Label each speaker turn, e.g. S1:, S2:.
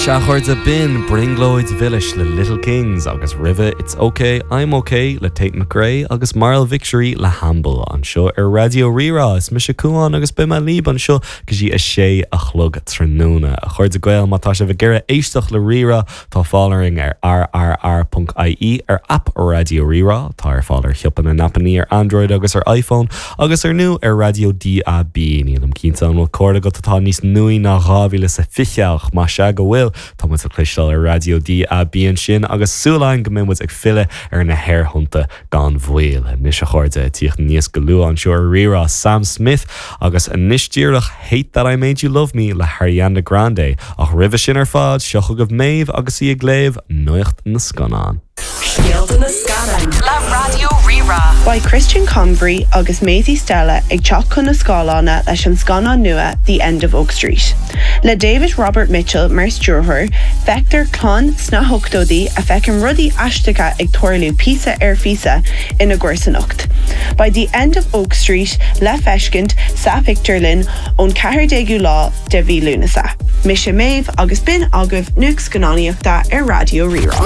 S1: Sea, a chairde, b'in Brionglóid Mhilis le Little Kings agus roimhe It's OK, I'm OK le Tate McRae agus Marl Victory le Hamble anseo ar Raidió Rí-Rá. Is mise Cuán agus beidh mé libh anseo go dtí a sé a chlog tráthnóna. A chairde Gael, má tá sibh ag iarraidh éisteacht le Rí-Rá, Tá fáil orainn ar rrr.ie, ar aip Raidió Rí-Rá, atá ar fáil ar shiopa na n-aipeanna ar Android agus ar iPhone, agus ar ndóigh ar raidió DAB. Nílim cinnte an bhfuil cóir agat atá níos nuaí ná 2020 ach más ea go bhfuil, tá muid le cloisteáil ar raidió DAB ansin agus súil againn go mbeidh muid ag filleadh ar na haerthonnta gan mhoill. Anois a chairde, ag tíocht aníos go luath anseo ar Rí-Rá, Sam Smith agus anois díreach Hate That I Made You Love Me le hAriana Grande. Ach roimhe sin ar fad, seo chugaibh Méabh agus í ag léamh Nuacht na Scannán.
S2: Scéalta na Scannán le Raidió Rí-Rá.
S3: Beidh Christian Convery agus Maisie Stella ag teacht chun na scáileána leis an scannán nua The End of Oak Street. Le David Robert Mitchell mar stiúrthóir, feictear clann sna hochtóidí a feiceann rudaí aisteacha ag tarlú píosa ar phíosa ina gcomharsanacht. Beidh The End of Oak Street le feiscint sa phictiúrlann ón 14ú lá de mhí Lúnasa. Mise Méabh agus b'in agaibh nuacht scannánaíochta ar Raidió Rí-Rá.